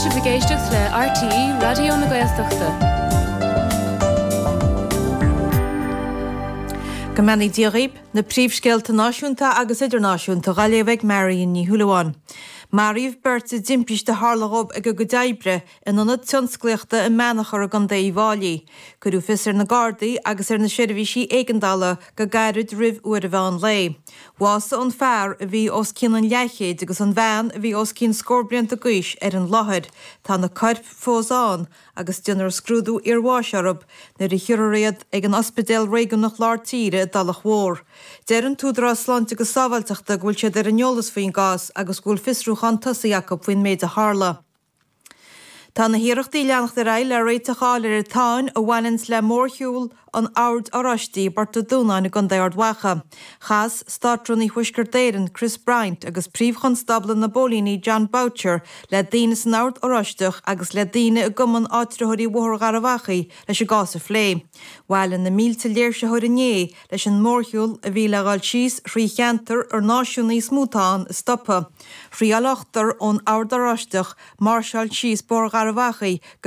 sibh ag éisteacht le RTÉ Raidió na Gaeltachta. Go mbeannaí Dia dhaoib, na príomhscéalta náisiúnta agus idirnáisiúnta dhá léamh ag Marion Ní Shúilleabháin. Maraíodh beirt i dtimpiste a tharla dhóibh ag a gcuid oibre in ionad tionsclaíochta i mBeannchar i gContae Uíbh Fháilí. Cuireadh fios ar na Gardaí agus ar na seirbhísí éigeandála go gairid roimh uair an mheán lae. Bhásaigh an fear, a bhí os cionn an leathchéid, agus an bhean, a bhí os cionn scór blianta d'aois, ar an láthair. Tá na coirp fós ann agus déanfar scrúdú iarbháis orthu nuair a thiúrfar iad ag an Ospidéal Réigiúnach Lár Tíre i dTulach Mhór. Deir an tÚdarás Sláinte agus Sábháilteachta go bhfuil siad ar an eolas faoin gcás agus go bhfuil fiosrúchán tosaithe acu faoin méid a tharla. Tá na hiarrachtaí ag leanacht ar aghaidh le réiteach a fháil ar an tsáinn a bhaineanns le mórshiúl an Oird Oráistigh i bPort an Dúnáin i gContae Ard Mhacha. Chas Státrúnaí Thuaisceart Éireann, Chris Bryant agus Príomh-Chonstábla na bPóilíní Jon Boutcher le daoine san Ord Oráisteach agus le daoine i gCumann Áitritheoirí Bhóthar Gharbh Achaidh leis an gcás a phlé. Bhailigh na mílte léirsitheoir inné leis an mórshiúl a bhí le dhul síos thrí cheantar ar náisiúnaigh is mó atá ann a stopadh. Thriáil ochtar ón Ord Oráisteach máirseáil síos Bóthar Gharbh Achaidh go.